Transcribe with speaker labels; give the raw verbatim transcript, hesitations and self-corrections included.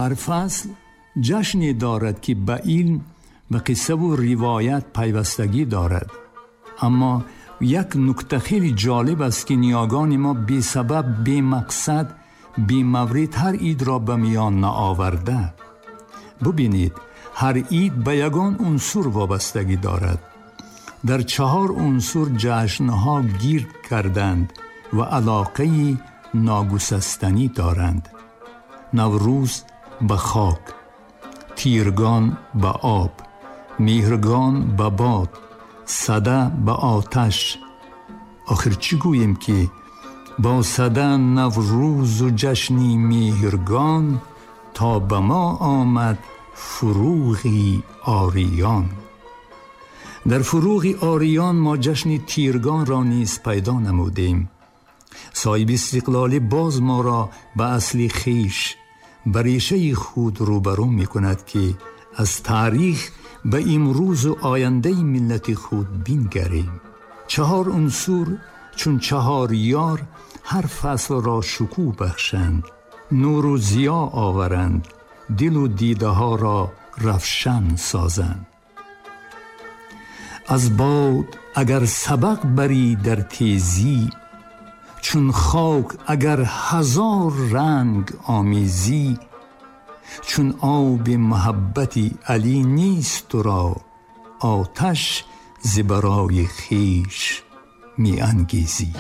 Speaker 1: Ҳар фасл ҷашне дорад, ки ба илм, ба қиссаву ривоят пайвастагӣ дорад. Аммо як нукта хеле ҷолиб аст, ки ниёгони мо бесабаб, бемақсад, бемаврид ҳар идро ба миён наоварда. Бубинед, ҳар ид ба ягон унсур вобастагӣ дорад. Дар чаҳор унсур ҷашнҳо гирд карданд ва алоқаи ногусастанӣ доранд. Наврӯз ба хок, Тиргон ба об, Меҳргон ба бод, Сада ба оташ. Охир чӣ гӯем, ки бо Сада, Наврӯзу ҷашни Меҳргон то ба мо омад фуруғи ориён. Дар фуруғи ориён мо ҷашни Тиргонро низ пайдо намудем. Соҳиби истиқлолӣ боз моро ба асли хеш, ба решаи худ рӯбарӯ мекунад, ки аз таърих ба имрӯзу ояндаи миллати худ бингарем. Чаҳор унсур чун чаҳор ёр ҳар фаслро шукӯҳ бахшанд, нуру зиё оваранд, дилу дидаҳоро равшан созанд. Аз бод агар сабақ барӣ дар тезӣ, чун хок агар ҳазор ранг омезӣ, чун оби муҳаббати Алӣ нест туро, оташ зи барои хеш меангезӣ.